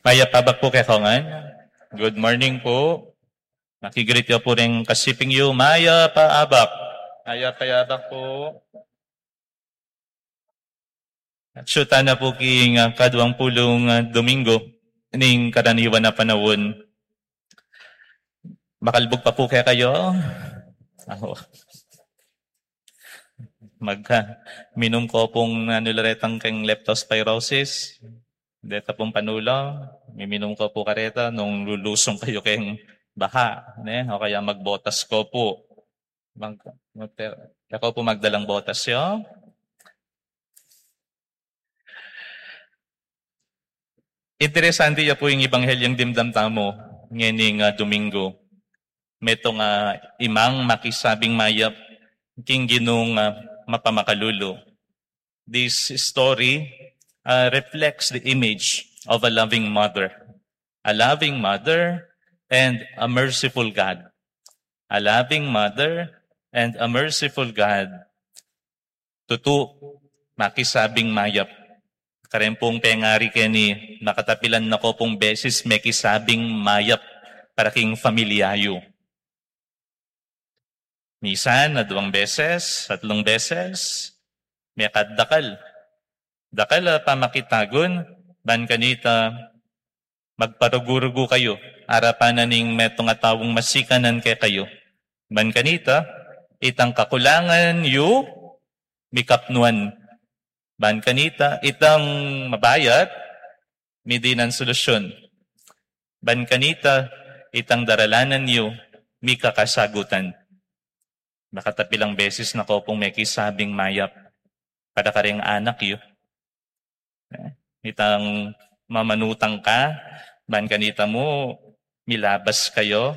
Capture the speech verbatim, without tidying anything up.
Mayap a abak pu kekayu ngan. Good morning pu. Makigreet yu pu ring kasiping yu. Mayap a abak. Mayap a abak pu. At siyutan na pu king, ah, kaduang pulung, ah, Domingo ning karaniwan a panaun. Makalbug pa pu kekayu. Aho. Mag, ah, minum ko pung, ah, nularetang keng leptospirosis. Deta pung panulu, miminum ko pu kareta nung lulusung kayu keng baha, ne? O kaya magbotas ko pu. Mag, mag, ako pu magdalang botas yu. Interesante ya pu ing Ebanghelyung dimdam tamu ngening, ah, Domingo. Metung a imang makisabing mayap king Ginung, ah, mapamakalulu. This story, uh, reflects the image of a loving mother. A loving mother and a merciful God. A loving mother and a merciful God. Tutu, makisabing mayap. Kareng pung pengari keni, makatapilan na ko pung beses mekisabing mayap para king familia yu. Misan, aduang beses, atlung beses, mekad dakal. Dakal a pamakitagun, ban kanita magparugu-rugu kayu, arapan na ning metung a taung masikanan kekayu. Ban kanita, itang kakulangan yu, mikapnuan. Ban kanita, itang mabayat, midinan solusyun. Ban kanita, itang daralanan yu, mikakasagutan. Makatapilang beses na ko pung mekisabing mayap para kareng anak yu. Itang mamanutang ka, ban kanita mu, milabas kayu,